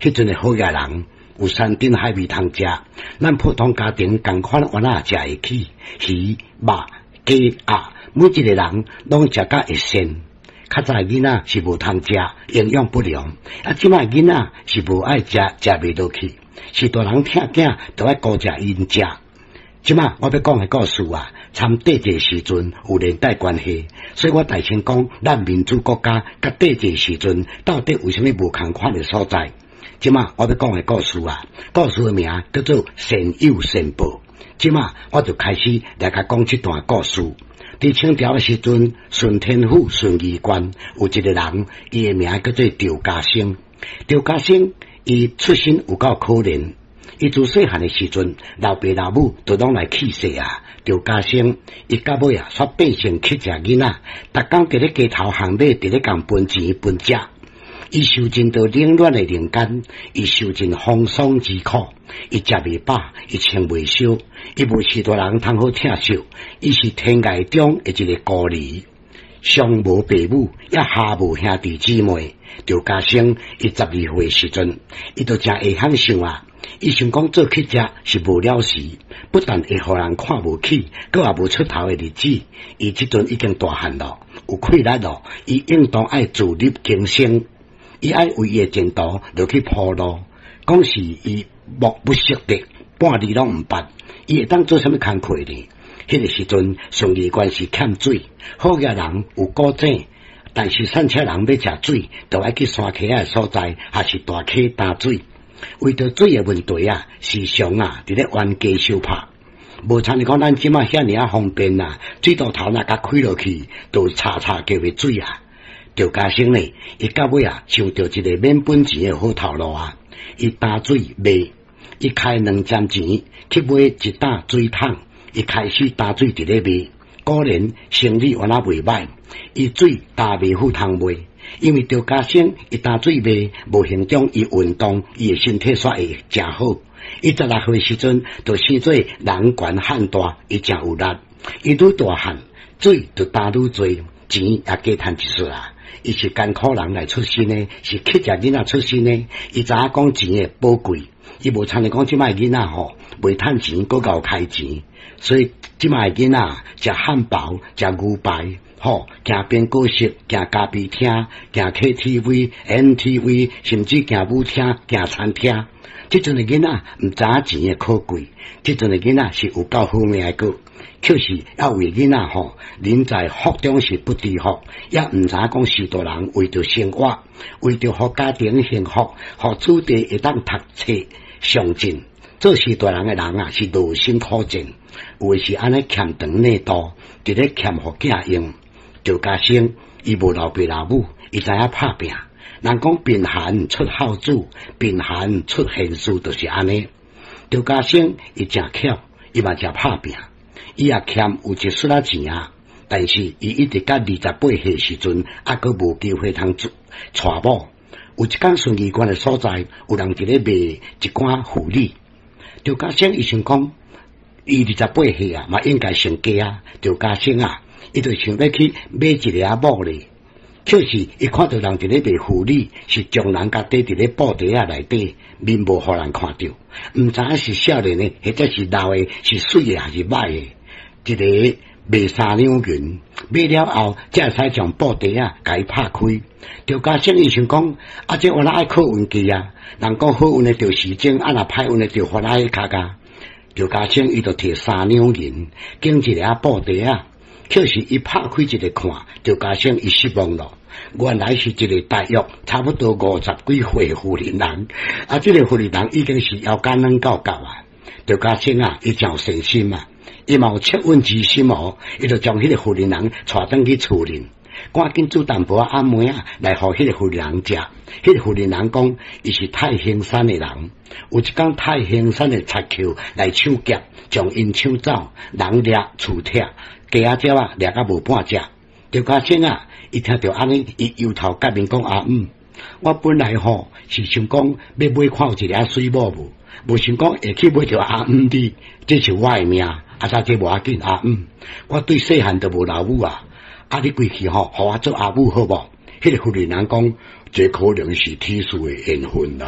彼陣的好額人有山珍海味通食，咱普通家庭仝款原來食會起魚、肉、雞、鴨，每一个人攏食甲會鮮。較早囡仔是無通食，營養不良。啊，這擺囡仔是無愛食，食袂落去，是大人疼囝，就愛顧食𪜶食。這擺我欲講的故事啊，參帝制時陣有連帶關係，所以我大聲講，咱民主國家佮帝制時陣到底有啥物無仝款的所在？這擺我欲講的故事啊，故事的名叫做善有善報。這擺我就開始來共講這段故事。佇清朝的時陣，順天府順義縣有一个人，伊的名叫做趙家生。趙家生伊出身有夠可憐，伊自細漢的時陣，老爸老母都攏來去世啊。趙家生伊到尾啊，煞變成乞食囡仔，逐工佇咧街頭巷尾，佇咧共分錢分食。伊受盡著冷暖的人間，伊受盡風霜之苦，伊食袂飽，伊穿袂燒，伊無序大人通好疼惜，伊是天涯中的一个孤兒，上無爸母，也下無兄弟姊妹。趙家生伊12歲時陣，伊就誠會曉想啊，伊想講做乞食是無了時，不但會予人看無起，閣也無出頭的日子。伊這陣已經大漢咯，有氣力咯，伊應當愛自力更生。伊愛為伊的前途落去鋪路，講是伊目不識得，半字攏毋捌，伊會當做啥物工課呢？彼个時陣，順義縣是欠水，好額人有古井，但是散車人欲食水，就愛去山溪仔的所在，抑是大溪擔水。為著水的問題啊，時常啊，佇咧冤家相拍。無親像講咱這擺遐爾仔方便啊，水喉頭若共開落去，就嚓嚓叫的水啊。趙家生呢，伊到尾啊，想著一个免本錢的好頭路啊！伊擔水賣，伊開2針錢去買一擔水桶，伊開始擔水佇咧賣。果然生意原來袂䆀，伊水擔袂赴通賣，因為趙家生伊擔水賣，無形中伊運動，伊的身體煞會誠好。伊16歲時陣就生做人懸漢大，伊誠有力，伊愈大漢，水就擔愈濟，錢也加趁一撮啊！伊是艱苦人來出身的，是乞食囡仔出身的。伊知影講錢的寶貴，伊無親像講這擺囡仔吼，袂趁錢，閣𠢕開錢。所以這擺囡仔食漢堡、食牛排，吼，行邊果室、行咖啡廳、行 KTV、MTV，甚至行舞廳、行餐廳。這陣的囡仔毋知影錢的可貴，這陣的囡仔是有夠好命的閣。確實，猶有囡仔吼，人在福中是不知福，也毋知影講序大人為著生活，為著予家庭幸福，予子弟會當讀冊上進，做序大人的人啊，是勞心苦戰，有的是按呢欠長內度，佇咧欠予囝用。趙家生伊無老爸老母，伊知影拍拚。人講貧寒出孝子，貧寒出賢士，就是按呢。趙家生伊誠巧，伊嘛誠拍拚。伊也欠有一撮仔錢啊，但是伊一直到28歲時陣，猶閣無機會通娶某。有一工順義縣的所在，有人佇咧賣一寡婦女。趙家生伊想講，伊二十八歲啊，嘛應該成家啊。趙家生啊，伊就想欲去買一个仔某咧。可是伊看著人佇咧賣婦女，是將人共塊佇咧布袋仔內底，面無予人看著，毋知影是少年的，或者是老的，是媠的還是䆀的。一个賣3兩銀，買了後，才會使將布袋仔共伊拍開。趙家生伊想講，啊，這原來愛靠運氣啊！人講好運的著時鐘，啊若歹運的著番仔跤矣。趙家生伊就提3兩銀，揀一个仔布袋仔，可是伊拍開一个看，趙家生伊失望咯。原來是一个大約差不多五十幾歲婦人人，啊，這个婦人人已經是腰間軟夠夠啊。趙家生啊，伊誠有善心啊。伊嘛有惻隱之心哦，伊就將彼个婦人人帶轉去厝裡，趕緊煮淡薄仔暗糜仔來予彼个婦人人食。彼个婦人人講，伊是太行山的人，有一工太行山的賊寇來搶劫，將𪜶搶走，人掠厝拆，雞仔鳥仔掠甲無半隻。趙家生啊，伊聽著按呢，伊憂頭結面講阿姆，我本來吼是想講欲買看有一个媠某無，無想講會去買著阿姆你，這是我的命。啊！這無要緊，阿姆，我對細漢就無老母啊！啊，你規氣吼，予我做阿母好無？彼个婦人人講，這可能是天賜的緣分啦。